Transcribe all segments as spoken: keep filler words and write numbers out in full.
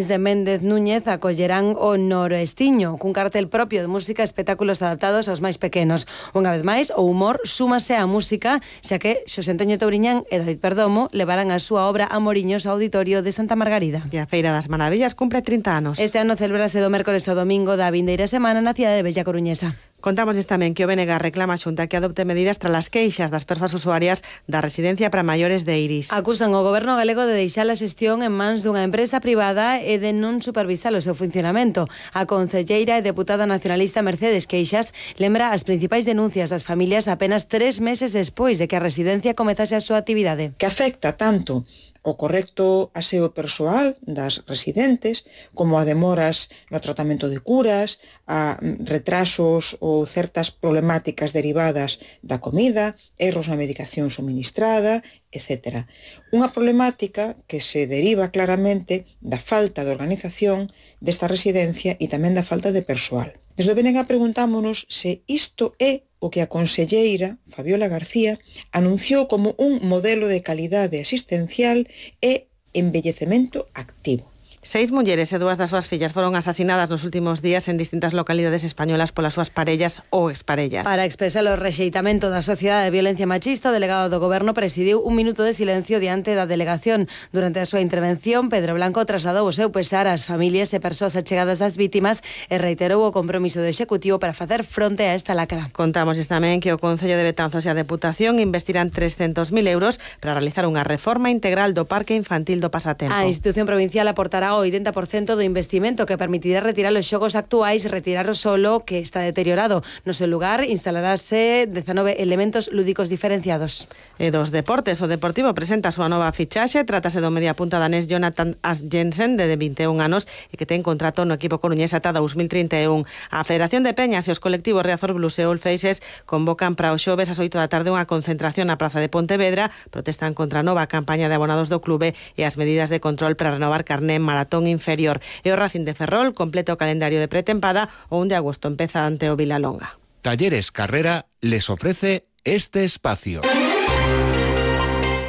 de Méndez Núñez acollerán o Noroestiño, cun cartel propio de música e espectáculos adaptados aos máis pequenos. Unha vez máis, o humor súmase á música, xa que Xosé Antonio Touriñán e David Perdomo levarán a súa obra Amoriños ao Auditorio de Santa Margarida. E a Feira das Maravillas cumpre trinta anos. Este ano celebrase do mércores ao domingo da vindeira semana na cidade de Bella Coruñesa. Contámosles tamén que o B N G reclama a Xunta que adopte medidas tras as queixas das persoas usuarias da residencia para maiores de Iris. Acusan o goberno galego de deixar a xestión en mans dunha empresa privada e de non supervisar o seu funcionamento. A concelleira e deputada nacionalista Mercedes Queixas lembra as principais denuncias das familias apenas tres meses despois de que a residencia comezase a súa actividade. Que afecta tanto o correcto aseo persoal das residentes, como a demoras no tratamento de curas, a retrasos ou certas problemáticas derivadas da comida, erros na medicación suministrada, etcétera. Unha problemática que se deriva claramente da falta de organización desta residencia e tamén da falta de persoal. Desde o B N G preguntámonos se isto é o que a conselleira, Fabiola García, anunciou como un modelo de calidade asistencial e envellecemento activo. Seis mulleres e dúas das súas fillas foron asasinadas nos últimos días en distintas localidades españolas polas súas parellas ou exparellas. Para expresar o rexeitamento da sociedade de violencia machista, o delegado do Goberno presidiu un minuto de silencio diante da delegación. Durante a súa intervención, Pedro Blanco trasladou o seu pesar ás familias e persoas achegadas das vítimas e reiterou o compromiso do Executivo para facer fronte a esta lacra. Contámosles tamén que o Concello de Betanzos e a Deputación investirán trescentos mil euros para realizar unha reforma integral do Parque Infantil do Pasatempo. A institución provincial aportará o oitenta por cento do investimento que permitirá retirar os xogos actuais e retirar o solo que está deteriorado. No seu lugar instalarase dezanove elementos lúdicos diferenciados. E dos deportes, o Deportivo presenta a súa nova fichaxe. Trátase do mediapunta danés Jonathan Jensen, de vinte e un anos, e que ten contrato no equipo coruñés ata dous mil trinta e un. A Federación de Peñas e os colectivos Riazor Blues e All Faces convocan para o xoves ás oito da tarde unha concentración na Praza de Pontevedra. Protestan contra a nova campaña de abonados do clube e as medidas de control para renovar carné maratón inferior. E o Racing de Ferrol completa o calendario de pretempada. O un de agosto empeza ante o Vilalonga. Talleres Carrera les ofrece este espacio.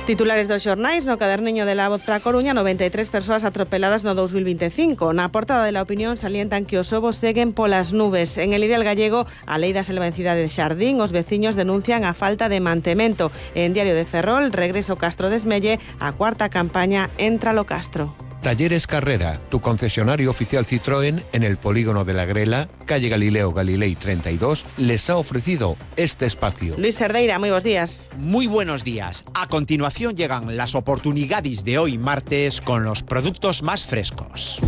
Titulares dos xornais. No caderniño de La Voz para Coruña, noventa e tres persoas atropeladas no dous mil vinte e cinco. Na portada de La Opinión salientan que os ovos seguen polas nubes. En El Ideal Gallego, a lei da selva en Cidade de Xardín, os veciños denuncian a falta de mantemento. En Diario de Ferrol, regreso Castro Desmelle, a cuarta campaña Entra lo Castro. Talleres Carrera, tu concesionario oficial Citroën en el polígono de la Grela, calle Galileo Galilei treinta y dos, les ha ofrecido este espacio. Luis Cerdeira, muy buenos días. Muy buenos días. A continuación llegan las oportunidades de hoy martes con los productos más frescos.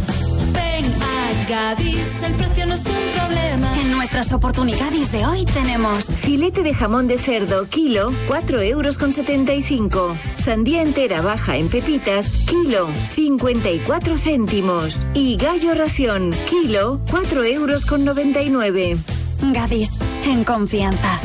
Ven a Gadis, el precio no es un problema. En nuestras oportunidades de hoy tenemos filete de jamón de cerdo, kilo, cuatro euros con setenta y cinco. Sandía entera baja en pepitas, kilo, cincuenta y cuatro céntimos. Y gallo ración, kilo, cuatro euros con noventa y nueve. Gadis, en confianza.